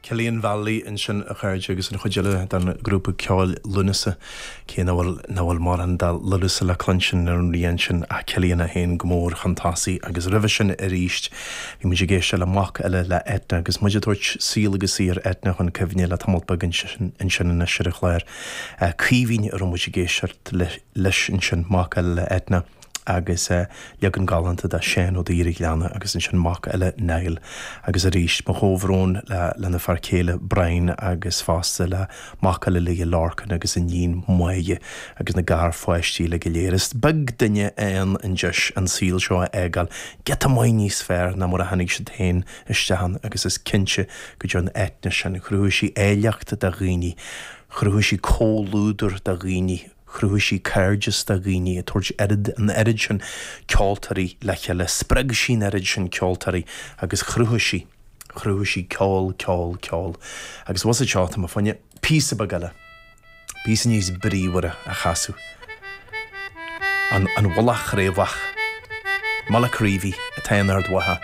Cillian Vallely ansin, a chairde, agus an chuid eile den ghrúpa ceoil Lúnasa, cé nach bhfuil, nach bhfuil mórán de Lúnasa le cluinstin ar an rian sin ach Cillian é féin go mór chun tosaigh agus roimhe sin arís bhí muid ag éisteacht le mac eile le Eithne agus muid ag tabhairt saol agus saothar Eithne chun cuimhne le tamall beag ansin anois ar an chlár. Caoimhín a raibh muid ag éisteacht leis ansin, mac eile le Eithne. agus leagan galánta de Seán Ó Duibhir an Ghleanna agus ansin mac eile Niall agus arís mo chomhbhrón le lena fear céile Brian agus fosta le mac eile léi Lorcan agus iníon Máire agus na garpháistí uilig go léir. Is beag duine a fhaigheann an deis an saol seo a fhágáil giota maith níos fearr ná mar a tháinig siad féin isteach ann agus is cinnte go dtearn Eithne sin. Chruthaigh sí áilleacht do dhaoine, chruthaigh sí comhluadar do dhaoine, Chruthaigh sí cairdeas do dhaoine, ag tabhairt oiread, an oiread sin ceoltóirí le chéile. Spreag sí an oiread sin ceoltóirí agus chruthaigh sí, chruthaigh sí ceol, ceol, ceol. Agus bhfuil a fhios agat seo, tá mé fá choinne píosa beag eile, píosa níos bríomhaire a chasadh. An, an Mhullach Chraobhach, Mullacreevy atá in Ard Mhacha.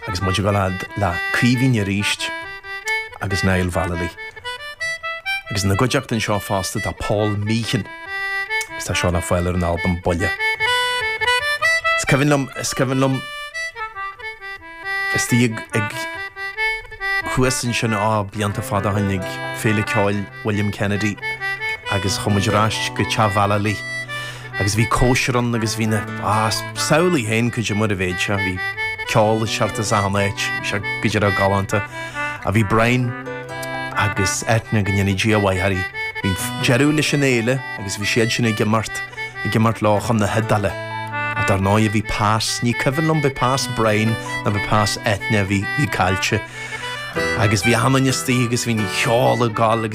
Agus muid ag dul fhad le Caoimhín arís agus Niall Vallely. Agus ina gcuideachta anseo fosta tá Paul Meehan agus tá seo le fáil ar an albam Buile. Is cuimhin liom, is cuimhin liom istigh ag, ag thuas ansin, á, blianta fada ó shin ag Féile Ceoil William Kennedy agus chuaigh muid ar ais go teach Vallely Agus bhí cóisir ann agus bhí na, ah, samhlaigh féin goidé mar a bheadh sé, bhí ceol ag teacht as achan áit, bhí sé go díreach galánta. Ach bhí Brian agus Eithne, go ndéana Dia a mhaith orthu, bhí deireadh leis an fhéile agus bhí siad sin ag imeacht, ag imeacht leo chun na hIodáile. Ach dar ndóigh bhí pas, ní cuimhin liom b'é pas Brian nó b'é pas Eithne a bhí, bhí caillte. Agus bhí achan duine istigh agus bhí an cheol ag gabháil agus.